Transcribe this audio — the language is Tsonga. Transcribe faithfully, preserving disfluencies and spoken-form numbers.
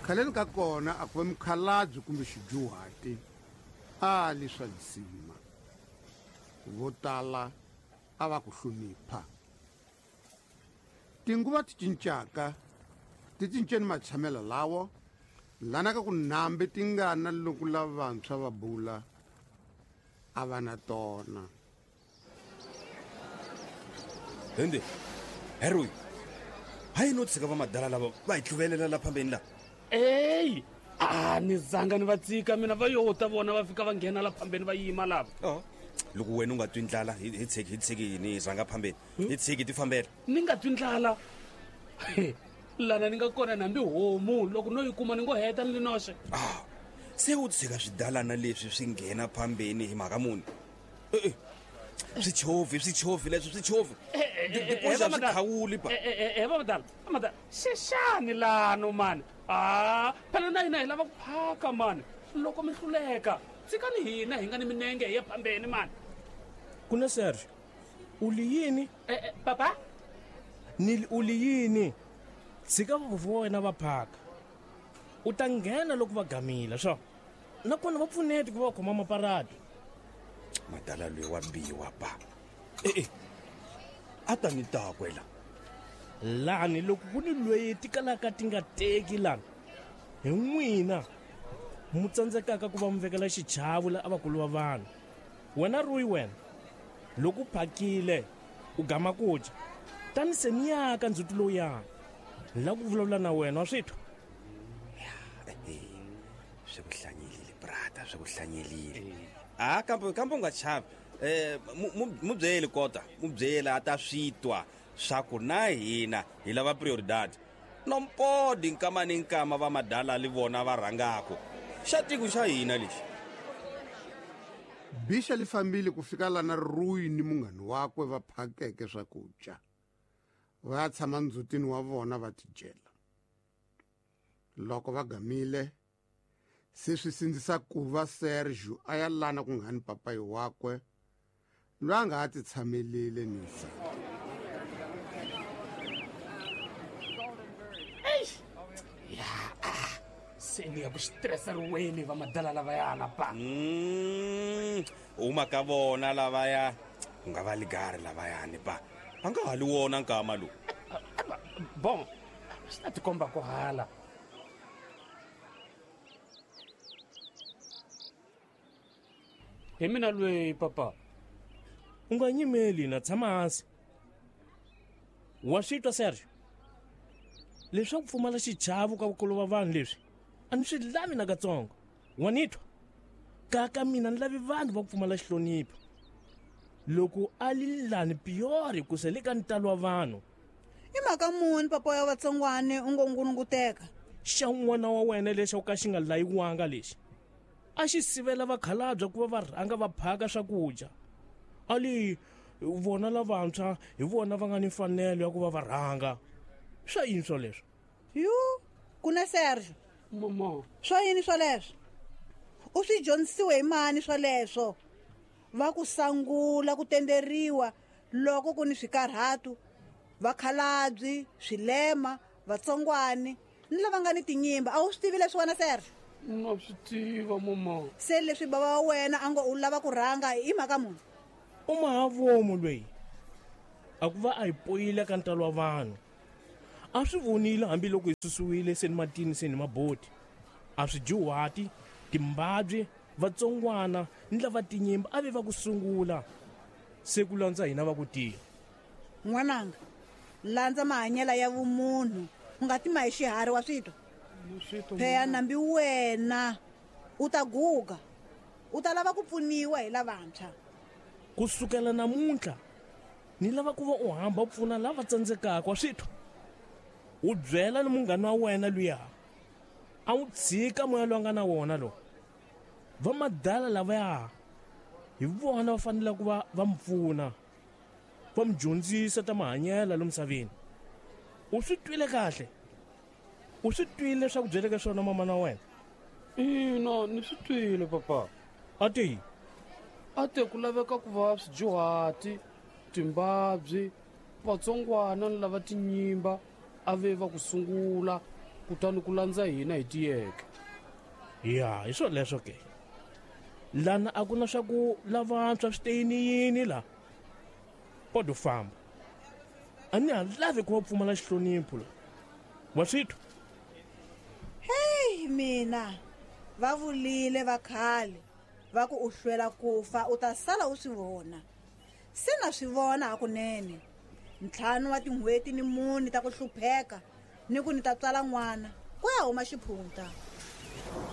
Khaleni ka kona a ku va mukhalabye kumbe xidyuhati a li swa lisima. Vo tala a va ku hlonipha. Tinguva ti cincaka ti cinceni matshamelo lawo lana ka ku nambe tingana loko lavantshwa va bula a va na tona. Hende Heroy, hayi no tshika va madala lava va hi tluvelela la phambeni la. Ey, a ni zanga ni va tsika mina va yo ta vona va fika va nghena la phambeni va yima lava. Oh. Loko wena u nga twi ndlala hi hi tshiki hi tshiki yini hi rhanga phambeni. Hi tshiki ti fambela. Ni nga twi ndlala. Lana ni nga kona nambi homu loko no yi kuma ni ngo heta ni linoxe. Ah. Se u tshika swidalana leswi swi nghena phambeni hi mhaka muni. Eh eh. Swichovi swichovi leswi swichovi. Diphosa swi khawuli pa. Eh eh va madala. Madala. Xexani lano mani. Ah, phela na hina hi lava ku phaka mani. Loko mi hluleka, tshikani hina hi nga ni minenge hi ya phambeni mani. Kuna Sergio, u li yini? Eh eh papa? Ni u li yini? Tshika vuvhu wa wena va phaka. U ta nghena loko va gamile swo. Nakona va pfuneti ku va khoma maparati. Madala loyi wa biwa pa. Eh eh. A ta ni takwela. Lani loko ku ni loyi tikalaka ti nga teki lani. Hi n'wina mu tsandzekaka ku va mu vekela xichavo la avakulu va vanhu. Wena Rui wena loko u phakile u gama ku dya tani se ni yaka ndzhuti lowuyani ni lava ku vulavula na wena wa swi twa. Swi ku hlanyelile brata, swi ku hlanyelile. Ah, kambe kambe u nga chavi. Eh mu byeli kota, mu byeli a ta swi twa swa ku na hina hi lava prioridad. Nompodi nkama ni nkama va madala li vona va rhangako. Xa tiko xa hina lexi. Bisha li fambile ku fika lana Rui ni munghana wakwe va phakeke swakudya. Va ya tshama ndzhutini wa vona va tidyela. Loko va gamile se swi sindzisa ku va Sergio a ya lana ku nga ni papayi wakwe loyi a nga ha ti tshamelile ni nsati. Ya, se ni ya ku stressa riweni va madala lavayana pa. Mm, uma ka vona lavaya ku nga va ligari lavayani pa. Va nga ha li wona nkama lowu. Bon, swi ta tikomba ku hala. Hi mina lweyi papa. U nga nyimeli na tshama hansi. Wa swi twa Sergio? Leswaku pfumala xichavo ka vakulu va vanhu leswi a ni swi lavi nakatsongo. Wa ni twa? Kaka mina ni lavi vanhu va ku pfumala xihlonipho. Loko a li lani piyori ku se le ka ntalo wa vanhu. I mhaka muni papa ya vatsongwane u ngo ngulunguteka? Xa n'wana wa wena lexi ka xi nga layiwanga lexi. A xi sivela vakhalabya ku va va rhanga va phaka swakudya. A li vona lavantshwa hi vona va nga ni mfanelo ya ku va va rhanga. Swa yini swoleswo? Yu, kuna Sergio. Mama. Swa yini swoleswo? U swi dyondzisiwe hi mani swoleswo? Va ku sangula ku tenderiwa loko ku ni swikarhatu, vakhalabyi, swilema, vatsongwani ni lava nga ni tinyimba. A wu swi tivi leswi wena Sergio? Na swi tiva mama. Se leswi baba wa wena a ngo u lava ku rhanga i mhaka muni? U mahavomu loyi. A ku va a hi poyile ka ntalo wa vanhu. A swi vonile hambiloko hi susiwile se ni matini se ni maboti. A swi dyuhati, timbabye, vatsongwana ni lava tinyimba a ve va ku sungula. Se ku landza hina va ku tiya. N'wananga, landza mahanyelo ya vumunhu, u nga tima hi xiharhi wa swi twa. Pheya nambi wena u ta guga, u ta lava ku pfuniwa hi lavantshwa. Ku sukela namuntlha ni lava ku va u hamba u pfuna lava tsandzekaka wa swi twa. U byela ni munghana wa wena luya a wu tshika moya lowu nga na wona lo. Va madala lavaya hi vona va fanele ku va va mu pfuna, va mu dyondzisa ta mahanyelo lomu misaveni. U swi twile kahle? U swi twile leswaku byeleke swona mama na wena? Ina, ni swi twile papa. A te a te ku laveka ku va swidyuhati, timbabyi, vatsongwana ni lava tinyimba a ve va ku sungula. Kutani ku landza hina hi tiyeke. Ya, hi swo leswo ke. Lana a ku na swa ku lavantshwa swi teyini yini la. Podo famba. A ni ha lavi ku va pfumala xihlonipho la. Wa swi twa? Heyi mina, va vulile va khale va ku u hlwela ku fa u ta sala u swi vona. Se na swi vona hakunene. Ntlhanu wa tin'hweti ni mune ta ku hlupheka ni ku ni ta tswala n'wana ku ya huma xiphunta.